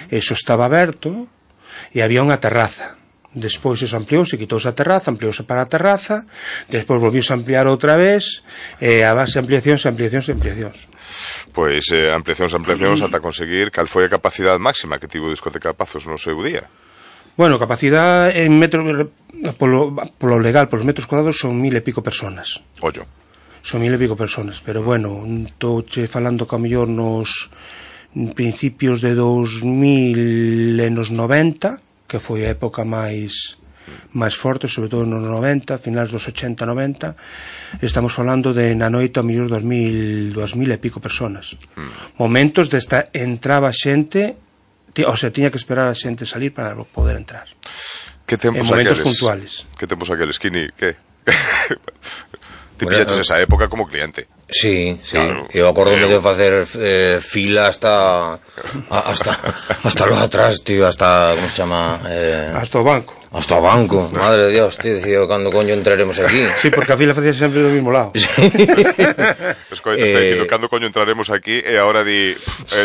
Eso estaba aberto e había unha terraza. Despois eso ampliouse, quitouse a terraza, ampliouse para a terraza, despois volviuse a ampliar outra vez, e a base de ampliacións. Pois ampliacións ata conseguir cal foi a capacidade máxima que tivo Discoteca Pazos no seu día. Bueno, capacidade en metros, polo legal, polos metros cuadrados son 1000 e pico personas. Ollo. Son 1000 e pico personas, pero bueno, estou falando que a mellor nos principios de 2000 e nos 90, que foi a época máis forte, sobre todo nos 90, finais dos 80-90, estamos falando de na noite a mellor 2000 e pico personas. Momentos desta entraba xente, o sea, tiña que esperar a xente salir para poder entrar. Que tempos en momentos aqueles? puntuales. Que tempos aqueles, Kini? Que? Ti pillaches esa época como cliente. Sí, claro. Eu acordome de facer fila hasta lo atrás, tío, hasta, como se chama? Hasta o banco. Hasta o banco, madre de Dios, tío, decía, cando coño entraremos aquí? Sí, porque a fila facía sempre do mismo lado. Sí. Escoita, está dicindo, cando coño entraremos aquí, e agora di,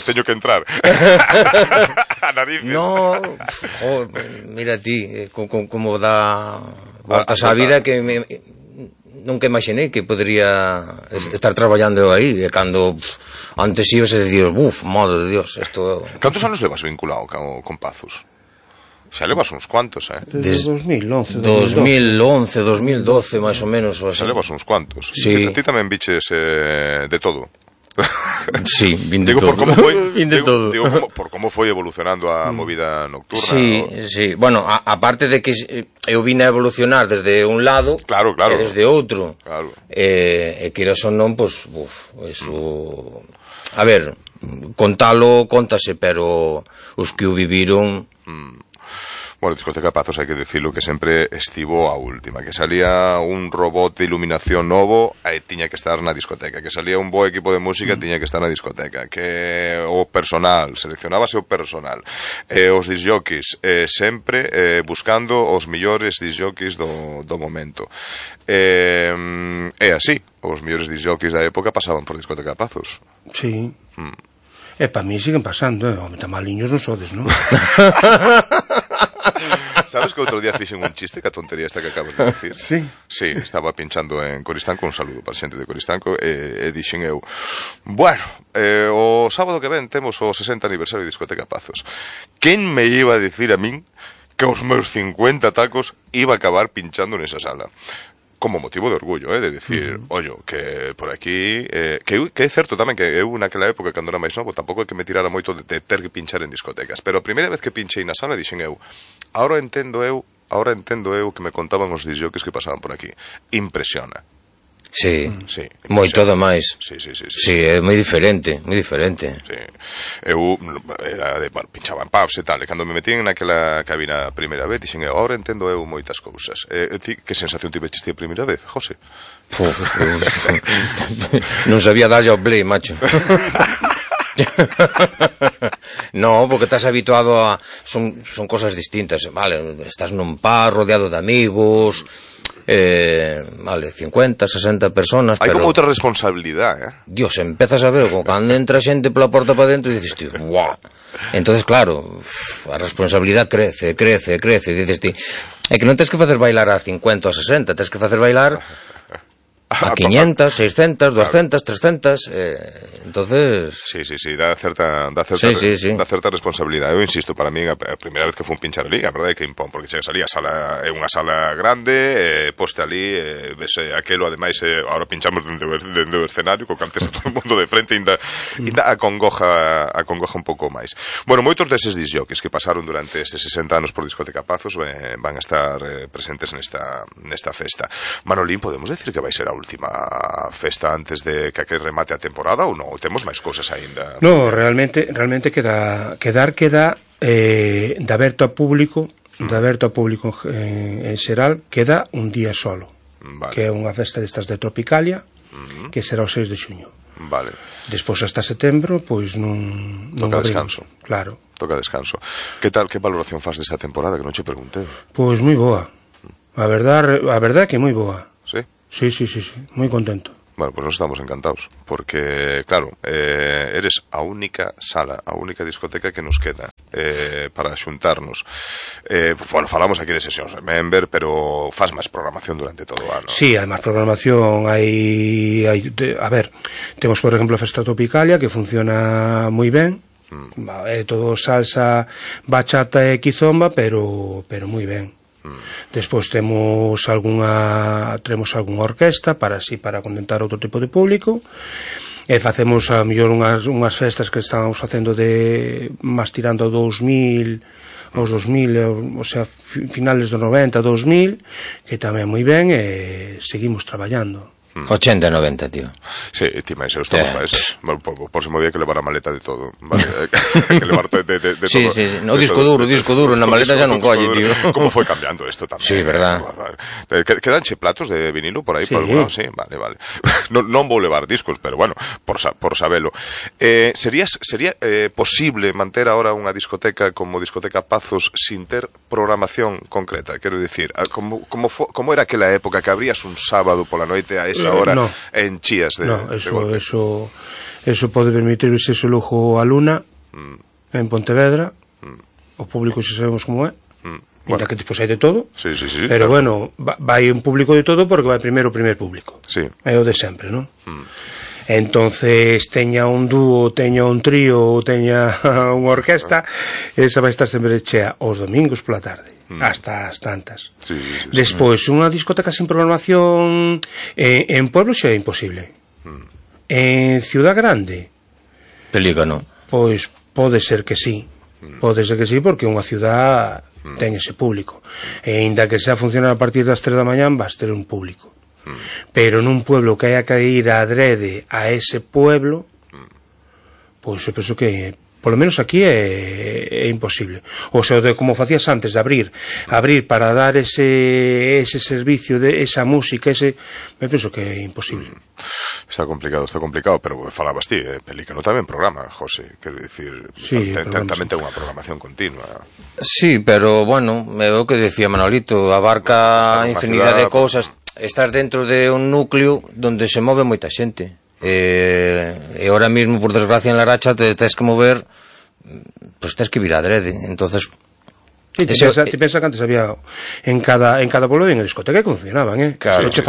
teño que entrar. A narices. No, mira ti, como dá voltas á vida que nunca imaginei que podría estar traballando aí, e cando antes ibas e decías, madre de Dios, esto... Cantos anos levas vinculado con Pazos? Xa levas uns cuantos, Desde 2011, 2012, máis ou menos. Xa levas uns cuantos. Sí. Ti tamén biches de todo. Sí, vin de todo. Por como foi evolucionando a movida nocturna. Sí, sí. Bueno, aparte de que eu vine a evolucionar desde un lado, claro. E desde outro. Claro. E que son non, pois, eso... A ver, contase, pero os que o viviron... Bueno, Discoteca Pazos, hai que dicilo que sempre estivo a última, que salía un robot de iluminación novo e tiña que estar na discoteca, que salía un bo equipo de música tiña que estar na discoteca, que o personal, seleccionábase o personal, os disjockeys, sempre buscando os millores disjockeys do momento. E así, os millores disjockeys da época pasaban por Discoteca Pazos. Sí. E para mí siguen pasando, tan maliños non sodes, non? Sabes que outro día fixen un chiste que a tontería esta que acabas de decir? Sí. Sí, estaba pinchando en Coristanco, un saludo para a xente de Coristanco, e dixen eu, bueno, o sábado que ven temos o 60 aniversario de Discoteca Pazos. Quen me iba a dicir a min que os meus 50 tacos iba a acabar pinchando nesa sala? Como motivo de orgullo, de decir, ollo, que por aquí, que é certo tamén que eu naquela época, cando era máis novo, tampouco é que me tirara moito de ter que pinchar en discotecas, pero a primeira vez que pinchei na sala dixen eu, ahora entendo eu que me contaban os disjockeys que pasaban por aquí. Impresiona. Sí, moito do máis. Sí. Sí, é moi diferente, moi diferente. Sí. Eu era de, bueno, pinchaba en pubs e tal, e cando me metín naquela cabina a primeira vez, dixen eu, agora entendo eu moitas cousas. Que sensación tiveches ti a primeira vez, José? Non sabía darlle ao play, macho. No, porque estás habituado a... Son cosas distintas, vale, estás nun par rodeado de amigos, vale, 50, 60 personas. Hai pero... como outra responsabilidade, Dios, empezas a ver, cando entra xente pola porta para dentro e dices, tío, guau. Entonces, claro, a responsabilidade crece, e dices ti, é que non tens que facer bailar a 50 ou a 60, tens que facer bailar a 500, 600, 200, 300, entonces... Sí, dá certa responsabilidade. Eu insisto, para mí, a primeira vez que fun pinchar ali, a verdade é que impón, porque chegas ali, a sala é unha sala grande, poste ali, ves aquelo, ademais, agora pinchamos dentro do escenario, co que antes a todo o mundo de frente, ainda acongoja un pouco máis. Bueno, moitos deses disjockeys que pasaron durante estes 60 anos por Discoteca Pazos van a estar presentes nesta festa. Manolín, podemos decir que vai ser a última festa antes de que remate a temporada ou non? Temos máis cousas aínda? No, realmente queda de aberto a público en xeral, queda un día solo, vale. Que é unha festa destas de Tropicalia, que será o 6 de xuño. Vale. Despois hasta setembro, pois non toca descanso. Claro. Toca descanso. Que valoración faz desta temporada, que non che preguntei? Pois moi boa. A verdade que moi boa. Sí? Sí, moi contento. Bueno, pues nos estamos encantados, porque, claro, eres a única sala, a única discoteca que nos queda para xuntarnos. Bueno, falamos aquí de sesións Remember, pero faz máis programación durante todo o ano. Sí, hai máis programación, a ver, temos, por exemplo, a Festa Tropicalia, que funciona moi ben, é todo salsa, bachata e kizomba, pero moi ben. Despois temos algunha orquesta para contentar outro tipo de público, e facemos a mellor unhas festas que estamos facendo de máis tirando aos 2000, o sea, finales dos 90, 2000, que tamén moi ben, e seguimos traballando. 80 e 90, tío. Sí, ti máis, estamos máis. Bueno, por próximo día que levar a maleta de todo, vale? Que levar de todo. Sí, no, disco duro, na maleta xa non colle, tío. Como foi cambiando isto tamén. Sí, verdad. Quedanche platos de vinilo por aí, sí. Por alguna? Sí, vale. Non vou levar discos, pero bueno, por sabelo. Sería posible manter agora unha discoteca como Discoteca Pazos sin ter programación concreta? Quero dicir, como era aquela época que abrías un sábado pola noite a esa hora en Chías de eso pode permitirse ese lujo a Luna en Pontevedra, o público se sabemos como é, bueno, que tipo hai de todo, sí, pero claro. Bueno, vai un público de todo porque vai primeiro o primer público, sí. É o de sempre, non? Entonces teña un dúo, teña un trío, teña unha orquesta, esa vai estar sempre chea os domingos pola tarde, hasta as tantas. Sí. Despois, unha discoteca sin programación en pueblo xa é imposible. En ciudad grande, Pelícano. pois pode ser que sí, porque unha ciudad ten ese público, e ainda que sea funcionar a partir das 3 da mañán vas ter un público. Pero nun pueblo que haya que ir adrede a ese pueblo, pois eu penso que polo menos aquí é imposible. O sea, como facías antes de abrir para dar ese servicio de esa música, me penso que é imposible. Está complicado, pero falabas ti, Pelícano tamén programa, José, quero dicir, sí, tamén ten unha programación continua. Sí, pero bueno, é o que decía Manolito, abarca infinidad de cousas. Estás dentro de un núcleo donde se move moita xente. E ahora mismo, por desgracia, en la racha te tens que mover, pues tens que vir adrede. Entonces, sí, te pensa que antes había en cada pueblo en discoteca que funcionaban, Claro, estou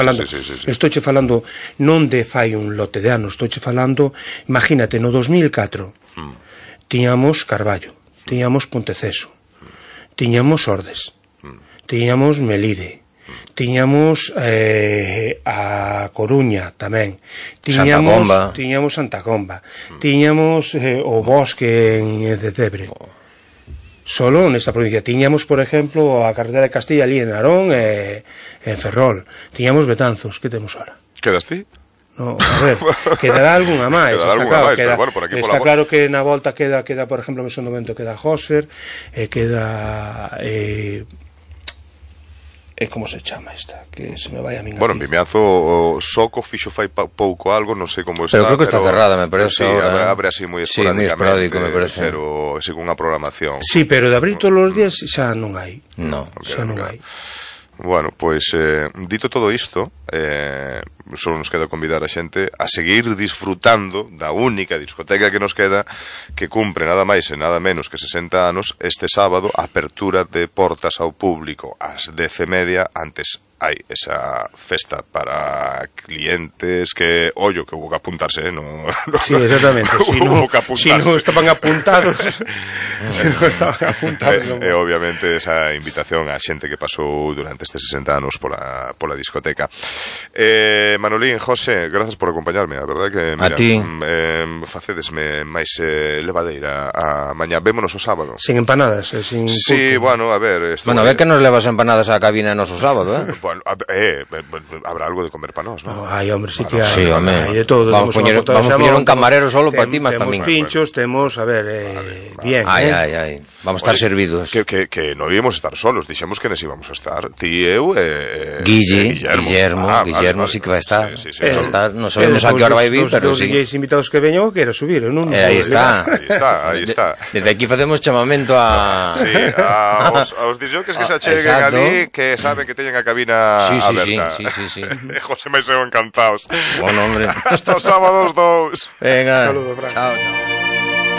falando non de fai un lote de anos, estou falando, imagínate, no 2004 tiñamos Carballo, tiñamos Ponteceso, tiñamos Ordes, tiñamos Melide, tiñamos a Coruña tamén, tiñamos Santa Comba, tiñamos o Bosque en Cetebre. Solo nesta provincia tiñamos, por exemplo, a carretera de Castilla ali en Narón e en Ferrol. Tiñamos Betanzos, que temos ahora? Quedas ti? No, a ver, quedará algunha máis, está claro que na volta queda, por exemplo, en Mesón do Vento queda Hosfer, queda como se chama esta, que se me vai a min. Bueno, en Vimiazo o Soco fixo fai pouco algo, non sei como está, pero creo que está cerrada, me parece, sí, ahora. Abre así moi esporádicamente, esporádico, me parece. Pero según a programación. Sí, pero de abrir todos os días xa non hai. No, xa non hai. Bueno, pois dito todo isto, só nos queda convidar a xente a seguir disfrutando da única discoteca que nos queda, que cumpre nada máis e nada menos que 60 anos este sábado, apertura de portas ao público ás 10:30. Antes hai esa festa para clientes que, ollo, que hubo que apuntarse, no, sí, exactamente, si non estaban apuntados e obviamente esa invitación a xente que pasou durante estes 60 anos pola discoteca. Manolín, José, grazas por acompañarme, a verdade que mira, a ti facedesme máis levadeira a mañá. Vémonos o sábado sin empanadas, sin sí, bueno, a ver, bueno, a ver que nos levas empanadas á cabina noso sábado, Bueno, habrá algo de comer para nós, ¿no? Ay, hombre, sí que sí, hai de todo. Vamos poñer un camarero solo para ti, máis para min. Temos pinchos, temos, a ver, bien. Ay. Vamos a estar servidos. Que non íbamos a estar solos, dixemos que nos íbamos a estar. Ti, eu Guillermo sí que vai estar. Sí, non sabemos a que hora vai vir, pero sí. Os invitados que veño que era subir, non? Aí está. Desde aquí facemos chamamento a... Sí, aos disjockeys que se acheguen ali, que saben que teñen a cabina cabina Sí. aberta. Sí. José Maiseo encantados. Bueno, hombre. Hasta os sábados 2. Venga. Saludo, Fran. Chao.